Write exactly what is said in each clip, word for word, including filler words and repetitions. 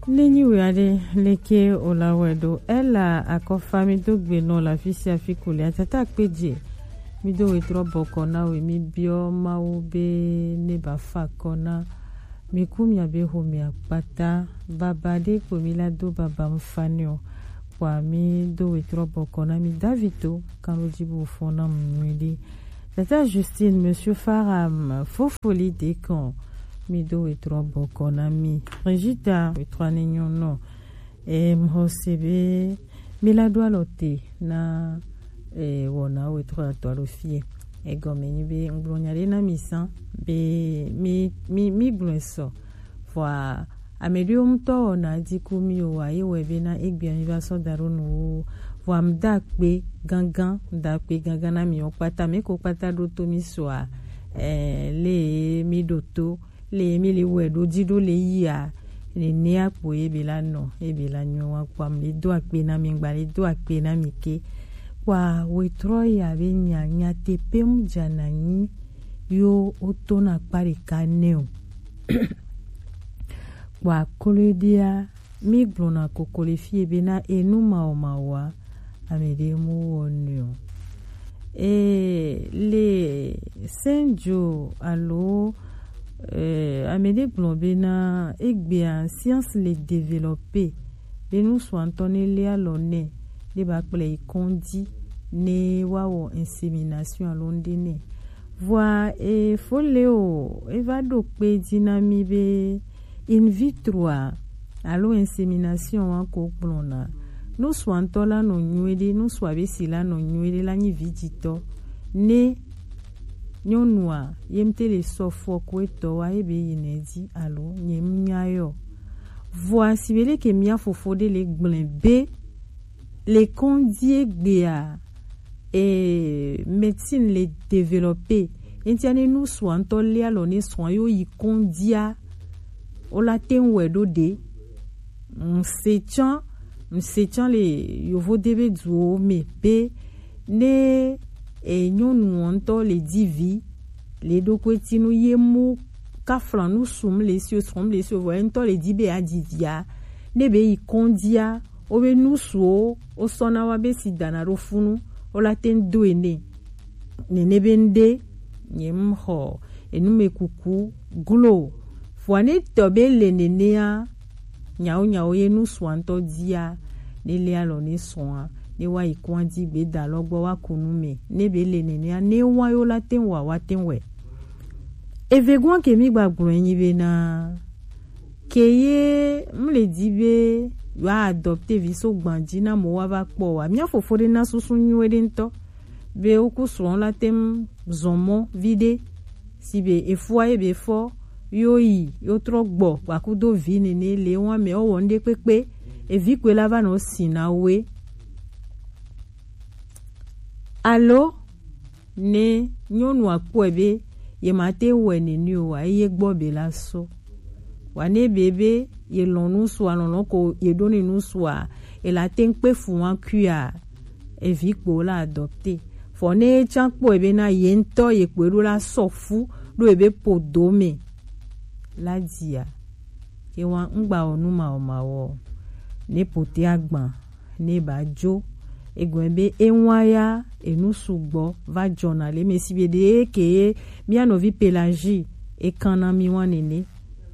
Nenyi wea ɖe, leke o la wɛ ɖo? Ela akɔfa mi do gbe nɔ la fi sia fi ku le atata kpe dze. Mi do wetrɔ bɔkɔ na we, mi biɔ Mawu be ne ba fa kɔ na mi ku mia be ho mia kpata. Baba ɖe kpo mi la do baba mfani o. Kpɔa mi do wetrɔ bɔkɔ na mi Davito kan lo dzi bo fɔ na mu nyuiɖe. Tata Justine, Monsieur Faram, Fofoli Dekan, mi do wetrɔ bɔkɔ na mi. Regita, wetrɔ ne nyɔnɔ. E mhɔ se be mi la do alɔ te na e wɔna wetrɔ atɔ alo fie. Egɔme nyi be ngblɔ nya ɖe na mi san be mi mi mi gblɔe sɔ. Vɔa ame ɖewo ŋutɔ wɔna dziku mi o wa ye wɔ be na egbea mi va sɔ da ɖo nu wo. Vɔa mi da akpe gangan, mi da akpe gangan na mi wo kpata, mi ko kpata ɖo to mi sɔa, eh, le mi ɖo to, le mi le wɛ ɖo dzi ɖo le yia, nenea kpo ye be la nɔ, ye be la nyɔ wa kpɔa mi le do akpe na mi gba le do akpe na mi ke. Kpɔa wetrɔ ya be nya nya te pe mu dza na nyi yo o to na kpa ɖeka nɛ o. Kpɔa kloe ɖea, mi gblɔna koko le fie be na enu mawɔmawɔa, ame ɖe mu wɔ nɛ o. E le Senjo alo e, ame ɖe gblɔ be na egbea science le développer be nu sua ŋutɔ ne le alɔ nɛ ne ba kplɔ yi kɔndzi ne wa wɔ insémination alo ŋɖe nɛ. Vɔa e fo le o, e va ɖo kpe dzi na mi be in vitro a alo insémination wa ko gblɔna. Nu sua ŋutɔ la nɔ nyuie ɖe, nu sua be si la nɔ nyuie ɖe la nyi vi dzitɔ. Ne nyɔnua ye mte le sɔ fɔ ko etɔ wa ye be yi nɛ dzi alo nye mu nya yɔ. Vɔa si be leke mia fofo ɖe le gblẽ be le kɔndzi egbea e, médecine le développer. Entia ne nu sua ŋutɔ le alɔ ne sua yo yi kɔndzia o la te ŋu wɛ ɖo ɖe. Ŋse tsã, ŋse tsã le yovo de be duwo me be ne e nyɔnu ŋutɔ le di vi le ɖo ko etinu ye mu kafla nu sum le si o srɔm le si o vɔ ŋutɔ le di be a di via ne be yi kɔndzia o be nu suwo o sɔ na wa be si dana ɖo funu o la te ŋu do ene. Nene be ŋɖe nye ŋu xɔ enumekuku glo. Vɔa ne tɔ be le nenea, nyawo nyawo ye nu sua ŋutɔ dia, ne le alɔ ne sua, ne wa yi kɔa dzi gbe da lɔ gbɔ wa ku nu me. Ne be le nenea, ne wa yo la te ŋu wa wa te ŋu wɛ. Eve gɔn ke mi gba gblɔ enyi be na ke ye mu le di be wa adopte vi so gban dzi na mo wa va kpɔ wa. Mia fofo ɖe na susu nyuie ɖe ŋutɔ. Be woku srɔ̃ la te ŋu zɔ mɔ viɖe. Si be efua ye be fɔ yo yi yo trɔ gbɔ gbakudo vi nene le wa me ɔwɔ ŋɖe kpekpe. Evi kpe la va nɔ si na we. Alo ne nyɔnua kpɔe be ye ma te wɛ nene o wa eye gbɔ be la sɔ. Wa ne be be ye lɔn nu sua lɔlɔ ko ye ɖo ne nu sua e la te ŋu kpe fu wa kuia. Evi kpo la adopte. Fɔ ne ye tsã kpɔe be na ye ŋutɔ ye kpoe ɖo la sɔ fu ɖo ebe po do me la dzia. Ke wa ŋgba wɔ nu mawɔ mawɔ ne pote agban ne ba dzo. Egɔme be ewa ya enu sugbɔ va dzɔna le me si be ɖe ke ye mia nɔvi Pelagie ekan na mi wa nene.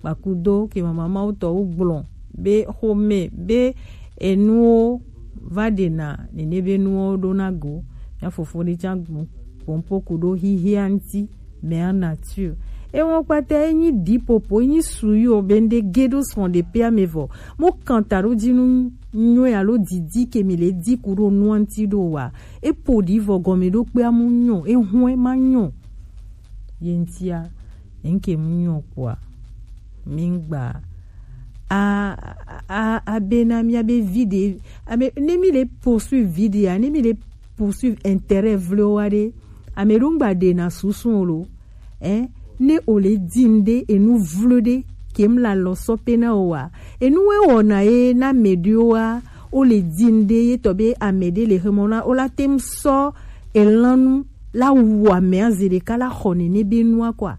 Kpakudo ke mama mawu tɔ wo gblɔ be xome be enuwo va ɖena nene be nuwo ɖo na go. Mia fofo ɖe tsã gbɔn pompo ku ɖo xixia ŋuti. Mère nature ewɔ kpata enyi ɖipopo enyi suyo be ŋɖe ge ɖo srɔ̃ ɖe pe ame vɔ mo kanta ɖo dzi nu nyɔe alo didi ke mi le di ku ɖo nua ŋuti ɖo wa epo ɖi vɔ gɔme ɖo kpe amu nyɔ ehɔn ma nyɔ. Ye ŋutia ŋke mu nyɔ kpɔa mi ŋgba a a a be na mia be vi ɖe ame ne mi le poursuivre vi ɖe a ne mi le poursuivre intérêt vlewo wa ɖe ame ɖo ŋgba ɖe na susu o lo. Ɛ ne o le di ŋɖe enu vlo ɖe kem la lɔ sɔ pe na o wa enu we wɔna ye na ame ɖewo wa o le di ŋɖe ye tɔ be ame ɖe le xemɔ na o la te ŋu sɔ elanu la wu ame aze ɖeka la xɔ nene be nua kɔa.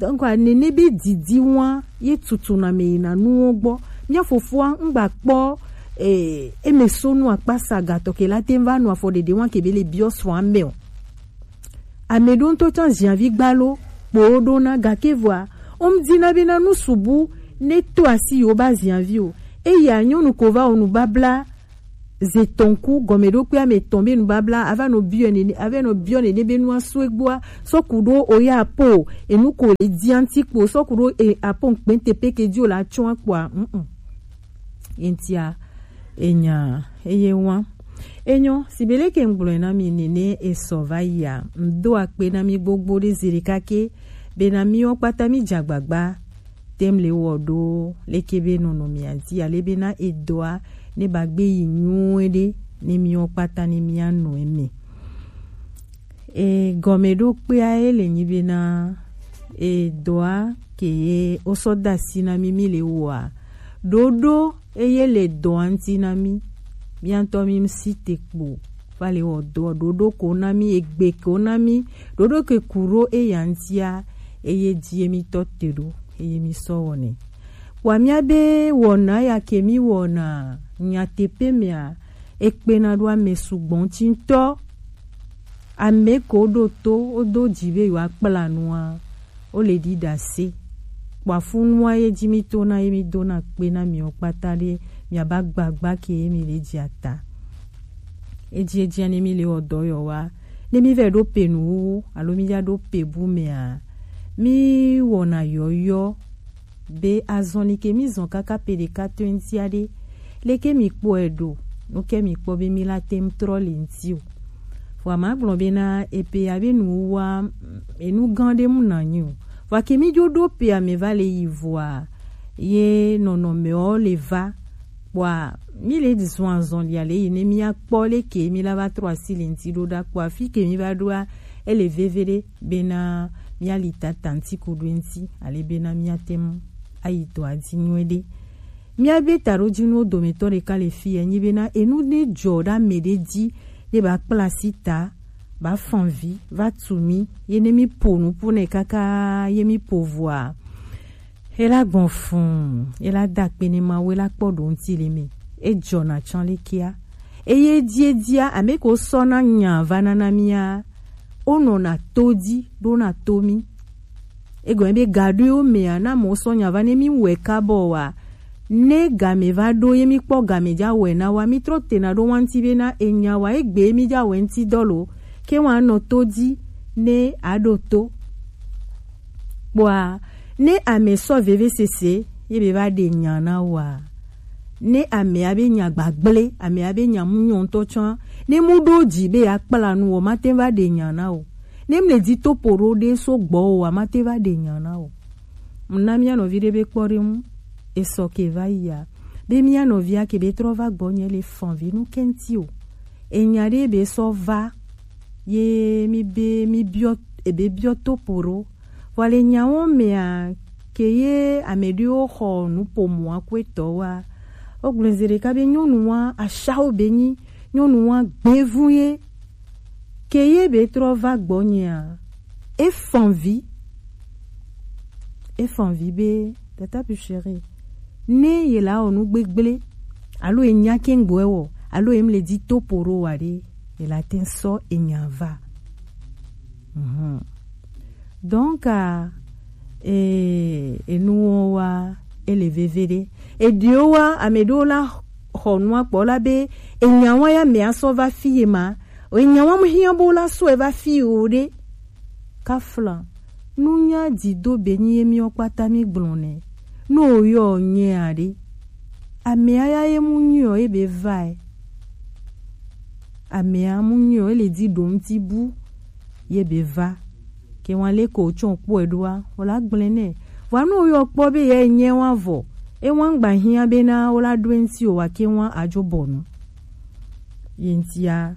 Donc nene be didi wa ye tutu na me yina nuwo gbɔ. Mía fofoa ŋgba kpɔ, eh, eme so nu akpasa gatɔ ke la te va nu afɔ ɖeɖe wa ke be le biɔ srɔ̃ ame o. Ame ɖo ŋutɔ tsã ziavi gbalo kpo ɖo na gake vɔa, o ŋdi na be na nu subu ne to asi yo ba ziavi o. Eya nyɔnu ko va o nu babla ze tɔn ku gɔmeɖokpe ame tɔn be nubabla ava nɔ biɔ nene, ava nɔ biɔ nene be nua so egbɔa, sɔku ɖo oya apo, enu ko le dia ŋti kpo, sɔku ɖo e apo ŋkpɛnte peke di o la tsɔa kpoa, mm, mm. Entia, enya, eye wa. Enyo, sibeleke ŋgblɔe na mi nene esɔ va yia, ŋdo akpe na mi gbogbo ɖe zirika ke, be na mi wo kpata mi dzagbagba, tem le wɔ ɖo leke be nɔnɔmea dzi, ale be na edɔa ne ba gbe yi nyuie ɖe ne miwo kpata ne mia nɔ eme. E gɔmeɖokpea ye le nyi be na edɔa ke ye wosɔ da asi na mi mi le wɔa, ɖoɖo eye le dɔa ŋti na mi, mia ŋutɔ mi si te kpo va le wɔ dɔ ɖoɖo ko na mi, egbe ko na mi, ɖoɖo ke ku ɖo eya ŋtia, eye dzi ye mi tɔ te ɖo, eye mi sɔ wɔnɛ. Wa mia be wɔna ya ke mi wɔna nyateƒe mea, ekpena ɖo ame sugbɔ ŋti ŋutɔ. Ame ko ɖo to, wodo dzi be yewoa kpla nua, wo le ɖi ɖase. Kpɔ afunua ye dzi mi to na ye mi do na kpe na miwo kpata ɖe, mia ba gbagba ke ye mi le dzi ata. Edzi edzi ne mi le wɔ dɔ yɔ wa, ne mi vɛ ɖo pe nuwuwu, alo mi ya ɖo pe bu mea, mi wɔna yɔyɔ be azɔli ke mi zɔn kaka pe ɖeka to ŋtia ɖe, leke mi kpɔe ɖo, nu ke mi kpɔ be mi la tem trɔ le ŋti o. Vɔa ma gblɔ be na epe ya be nuwuwua, enu gã ɖe mu na nyi o. Vɔa ke mi dzo ɖo pe ame va le yi vɔa, ye nɔnɔmewo le va. Kpɔa, mi le zɔn azɔlia le yi ne mi akpɔ leke mi la va trɔ asi le ŋti ɖo ɖa. Kpɔa, fi ke mi va ɖoa, ele veve ɖe bena mia li tata ŋti ku ɖo ŋti, ale bena mia tem ayi dɔa dzi nyuie ɖe. Mia be taɖodzinuwo dometɔ ɖeka le fi ya nyi bena enu ne dzɔ ɖe ame ɖe dzi ne ba kpla asi ta, ba fan vi, va tu mi, ye ne mi po nupo nɛ kaka ye mi po vɔa, e la gbɔn fun, e la da kpe ne Mawu, e la kpɔ ɖo ŋti le me. E dzɔna tsã le kia. Eye edi edia, ame ko sɔ na nya va na na mia, o nɔna to dzi ɖo na to mi. Egɔme be gaɖoewo mea, na mo sɔ nya va ne mi wɛ kabɔ wa. Ne game va ɖo ye mi kpɔ game dza wɛ na wa, mi trɔ tena ɖo wa ŋti be na enya wa egbe mi dza wɛ ŋti dɔ lo, ke wa nɔ to dzi ne a ɖo to. Kpɔa, ne ame sɔ vevesese ye be va ɖe nya na wa, ne amea be nya gbagble, amea be nya mu nyɔ ŋutɔ tsã, ne mu ɖo dzi be ya kpla nu o, ma te va ɖe nya na o. Ne mle dzi to po ɖo ɖe so gbɔ o, a ma te va ɖe nya na o. Mna mia nɔvi ɖe be kpɔɖeŋu, esɔ ke va yia, be mia nɔvia ke be trɔ va gbɔ nye le fan vi nu kɛnti o. Enya ɖe be sɔ va, ye mi be mi biɔ, ebe biɔ to po ɖo. Vɔ le nyawo mea, ke ye ame ɖewo xɔ nuƒomɔa ku etɔ wa. Wo gblɔ zi ɖeka be nyɔnu wa ashawo be nyi, nyɔnu wa gbevu ye. Ke ye be trɔ va gbɔnyea, e fan vi. E fan vi be, tata pu chéri, ne ye la wɔ nu gbegble, alo e nya ke ŋgbɔ e wɔ, alo e mle dzi to po ɖo wa ɖe, ye la te sɔ enya va. Mhm. Donc, ah, e, enuwo wa, ele veve ɖe. Eɖewo wa, ame ɖewo la xɔ nua kpɔ la be, enya wa ya me asɔ va fi ye ma. Enya wa mu hiã bo la sɔ e va fi o ɖe. Kafla, nunya dzido be nyi ye miwo kpata mi gblɔ nɛ. No yɔ nye aɖe. Amea ya ye mu nyɔ ye be va e. Amea mu nyɔ ye le dzi ɖo ŋti bu ye be va. Ke wa le ko tsɔ kpɔe ɖoa, o la gblẽ nɛ. Vɔa no yɔ kpɔ be ye nye wa vɔ. E wa ŋgba hiã be na o la ɖo ŋti o wa ke wa adzo bɔnu. Ye ŋtia,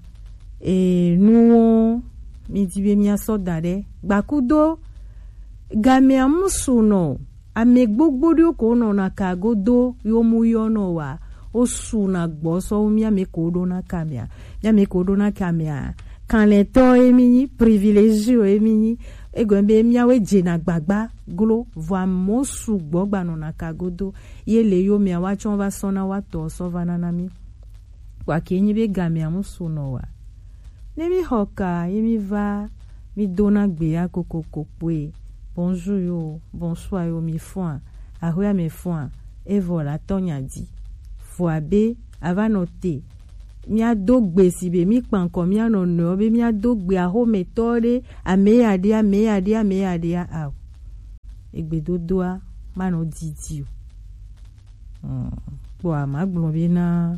e, nuwo mi di be mia sɔ da ɖe. Gbakudo gamea mu su nɔ. Ame gbogbo ɖewo ko nɔna ka godo yo mu yɔ nɔ wa. O su na gbɔ sɔ wu mia me ko ɖo na ka mea. Mia me ko ɖo na ka mea. Kanlɛtɔ emi nyi, privilégié emi nyi. Egɔme be miawoe dzena gbagba glo, vɔ amewo sugbɔ gbanɔna ka godo. Ye le yomea, woatsɔ va sɔ na woatɔ sɔ va na na mí. Vɔ ake nyi be gamea mu su nɔ wa. Ne mí xɔ ka, ye mí va, mí dona gbe ya kokoko kpoe. Bonjour yo, bonsoir yo, mi fɔa, axɔe me fɔa, evɔ la tɔ nya di. Vɔ abe, ava nɔ te, míado gbe si be mí kpankɔ mía nɔnɔewo be míado gbe axometɔ ɖe, ame ya ɖe, ame ya ɖe, ame ya ɖe, ao. Egbedodoa manɔ didi o. Hmm, kpɔa magblɔ be na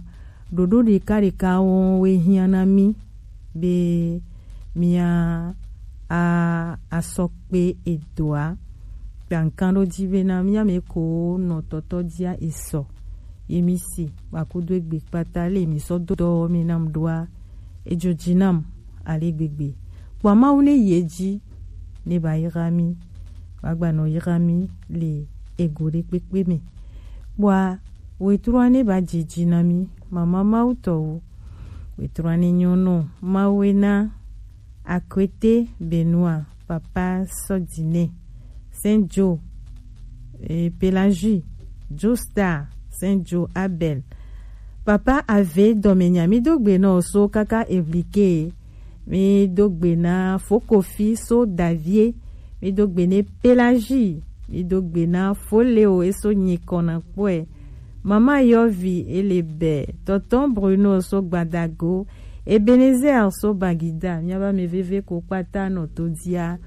ɖoɖo ɖeka ɖeka wo we hiã na mí be mía a asɔ kpe edoa. Kpankan ɖo dzi be na mía me ko nɔ tɔtɔ dia esɔ. Ye mi si, wa kudo egbe kpata le mi sɔ do dɔ mi nam ɖoa, edzo dzi nam ale gbegbe. Kpɔa Mawu ne yi edzi, ne ba yra mi, wa gba nɔ yra mi le ego ɖe kpekpe me. Kpɔa wetrua ne ba dzi dzi na mi, mama Mawu tɔwo. Wetrua ne nyɔ nɔ Mawu ena, Akwete Benoit, Papa Sɔdinɛ, Saint Joe, eh, Pelagie, Joe Star, Saint Joe Abel. Papa Ave dɔmenya, mi do gbe na oso kaka eblike. Mi do gbe na Fokofi so Davie. Mi do gbe ne Pelagie. Mi do gbe na Foleo eso nyikɔ na kpɔe. Mama Yɔvi ele bɛ. Tɔtɔ Bruno so Gbadago. Ebenezer so Bagida. Miaba me veve ko kpata nɔ to dia.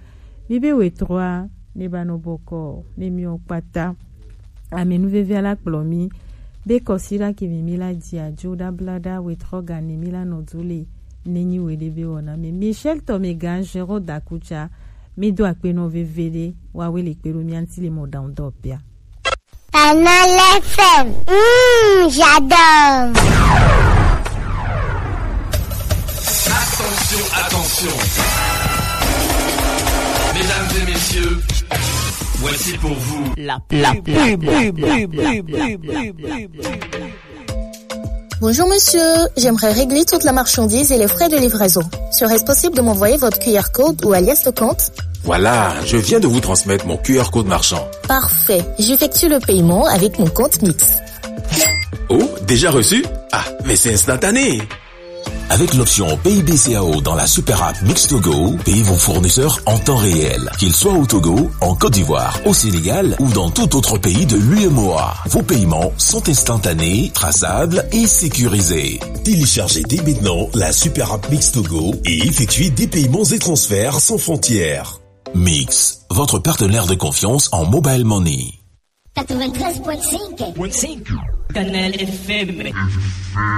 Mi be wetrua ne ba nɔ bɔkɔ ne mi o kpata. Ame nuveve la kplɔ mi be kɔsiɖa ke mi mi la dzi adzo ɖa bla ɖa wetrɔ ga ne mi la nɔ du le ne nyi we ɖe be wɔna me. Michel Tomega Gérard Dakucha, mi do akpe nɔ veve ɖe wa we le kpe ɖo mia ŋuti le mɔ ɖaŋu dɔ pia. Canal F M, mm, j'adore. Attention, attention. Mesdames et messieurs, voici pour vous la pub. Bonjour monsieur, j'aimerais régler toute la marchandise et les frais de livraison. Serait-ce possible de m'envoyer votre Q R code ou alias de compte ? Voilà, je viens de vous transmettre mon Q R code marchand. Parfait, j'effectue le paiement avec mon compte Mix. Oh, déjà reçu ? Ah, mais c'est instantané. Avec l'option Pay B C A O dans la super app Mix to Go, payez vos fournisseurs en temps réel. Qu'ils soient au Togo, en Côte d'Ivoire, au Sénégal ou dans tout autre pays de l'U M O A. Vos paiements sont instantanés, traçables et sécurisés. Téléchargez dès maintenant la super app Mix to Go et effectuez des paiements et transferts sans frontières. Mix, votre partenaire de confiance en mobile money. Quatre-vingt-treize point cinq. Canal F M.